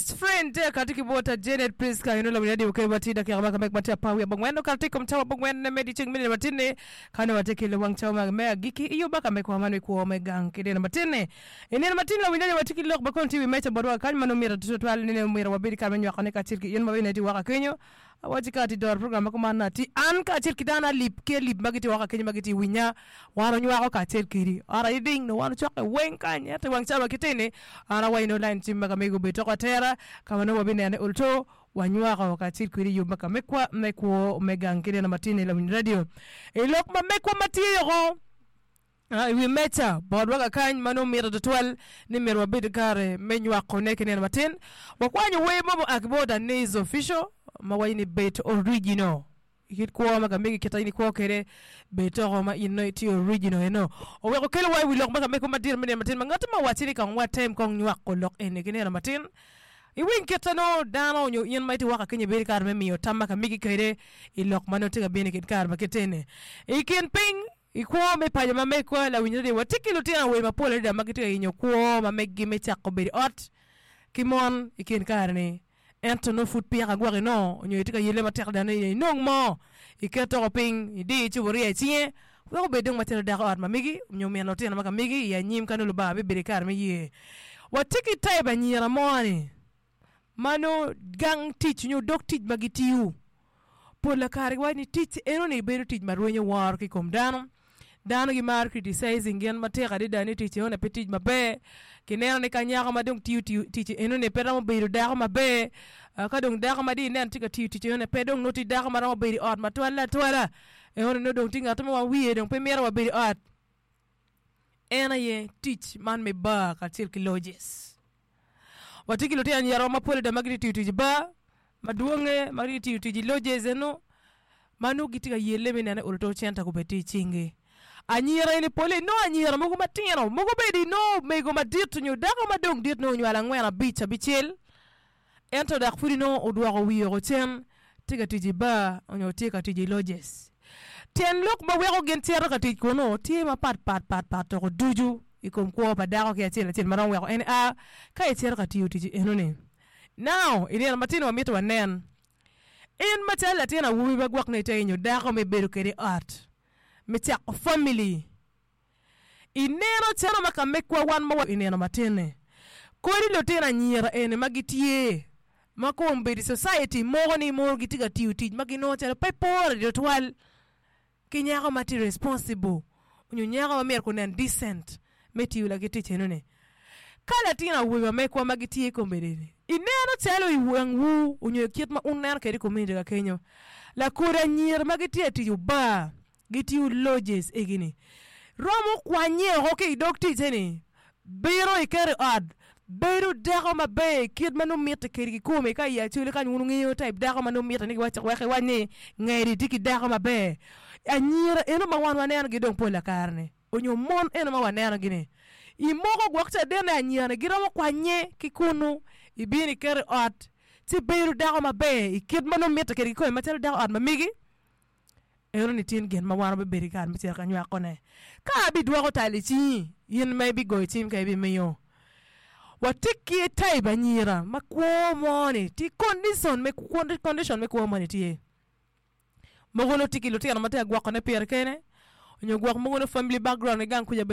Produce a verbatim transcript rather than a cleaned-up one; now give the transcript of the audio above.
Best friend tye kati ki bota Janet Priska eno lawiny radio ke wati dakika ma kamek matye apar wiye abongwen okato tye i kom cawa abongwen me dyeceng me nino matin-ni ka nongo watye ki lawang cawa ma me agikki i yub ma kamekwa man me kwo me gang ki nino matin-ni. I nino matin lawiny radio watye ki lok ma kono tye i wi meja botwa kany ma nongo myero tutwal ni nongo myero wabed kare me nywakone kacel ki in ma bene itye woko kenyo. Awaci ka atye doro program ma kuman atye an kacel ki dano alip ki alip ma gitye woko kenyo ma gitye winya wan onywako kacel kedi ot aye ding nongo wan ocokke weng kany ento i wang cawa ki tini an awaco nongo line cim ma ka mego obed toko atera ka ma nongo wabinene olto wanywako kacel kwedi i yub ma ka mekwa me kwo me gang ki nino matini lawiny radio i lok ma mekwa ma tye yoko I wi meja botwa kakany ma nongo mitte tutwal ni myero wabed ki kare me nywakone ki nino matin. Wakwanyo wer mo mua ki bot Aniz Official ma waco ni Bed Original. I kit kwo ma kamegi kit ma in ikwo kwede, bed toko ma in nongo itye original eno. Oweko kelowa i wi lok ma kamego madit me nino matin ma ngati mo owacci ni kong watem kong nywako lok eni ki nino matin. Iwiny kit ma nongo dano nyo in ma itye woko kenyo ibedo ki kare me miyo tam ma kamegi kwede i lok ma nongo tye ka bino i kin kare ma kit eni. I kin piny, I kwo me paco ma megwa, lawiny radio, watye ki lutino awobe mapol adada ma gitye ka yenyo kwo ma meggi me cako bedo i ot ki mon i kin kare-ni. Ento nongo pud peya kagwoki nongo nyo itye ka yelle matek adada ni inong mo, iket toko piny, idi cuburia i cinge wek obed dong macalo dako ot ma megi nyo min lutino ma ka megi i anyim ka nongo Lubanga bibedo ki kare me ye. Watye ki type anyira mo-ni ma nongo gang tic nyo dog tic ma gitiyo Pol kare giwaco ni tic enoni bedo tic ma rwenyo woro ki i kom dano. Dano gimaro criticizing gin matek adada ni tic enoni pe tic maber. Kineno ni ka nyako ma dong tiyo tic enoni pe romo bedo dako maber. Ka dong dako ma dong ineno tye ka tiyo tic enoni pe dong nongo tye dako ma romo bedo i ot matwal atwala. Enoni nongo dong tye ngat mo ma wiye dong pe mito wa bedo i ot. En aye tic man me bar kacel ki lodges. Watye ki lutino anyira mapol adada ma gitye ka tiyo tic i bar madwonge ma gitye ka tiyo tic i lodges eno ma nongo gitye ka yelle me neno ni olo to cente gubed tye i cingi. Anyira eni pole inongo anyira mogo matino mogo bene inongo mego madit nyo dako ma dong dit nongo onywalo angwen abic abicel Ento dok pud inongo odwoko wiye woko cen, tye ka tic i bar onyo tye ka tic i lodges. Tyen lok ma weko gin cito ka tic kunu tye mapat pat pat pat toko ducu i kom kwo pa dako ki acel acel ma romo weko en a ka ecito ka tiyo tic enoni. Now, i nino matino wamito wanen in macalo latin awobi ma gwok nongo ite nyo dako ma ibedo kwede i ot me cako family. Ineno calo ma ka mekwa wan ma wa i nino matin-ni, kodi lutino anyira eni ma gitye ma kombeddi society moko ni mono gitye ka tiyo tic ma ginongo calo pe pore tutwal ki nyako ma tye responsible nyo nyako ma myero gunen decent me tiyo laki tic enoni. Ka latin awobe ma mekwa ma gitye kombeddi-ni ineno calo i wangwu nyo i kit ma wun wuneno kwede i community ka kenyo, lakodi anyira ma gitye ka tic obar gitiyo lodges egi-ni romo kwanye woko ki i dog ticce-ni, bino iketo i ot, bedo dako maber kit ma nongo mitte kwede kikome. Ka i Acholi kany wun wungeyo type dako ma nongo mitte ni giwaco wek iwac ni ngedi tye ki dako maber. Anyira eno ma wan wanenogi dong pol kare-ni onyo mon eno ma wanenogi-ni i moko gwok caden ni anyira-ni giromo kwanye ki kunu ibino iketo i ot ci bedo dako maber i kit ma nongo mitte kwede kikome macalo dako ot ma megi. Eno-ni tin gin ma wan wabibedo i kare me cito ka nywakone. Ka abidwoko tal i cingi, in ma ibigoyo cim ka ibimiyo. Watye ki type anyira ma kwo mo-ni tye condition me condition me kwo moni tye. Mogo nongo tye ki lutino ma tye ka gwokone pire kene, nyo gwok mogo nongo family background ki gang kuca bene.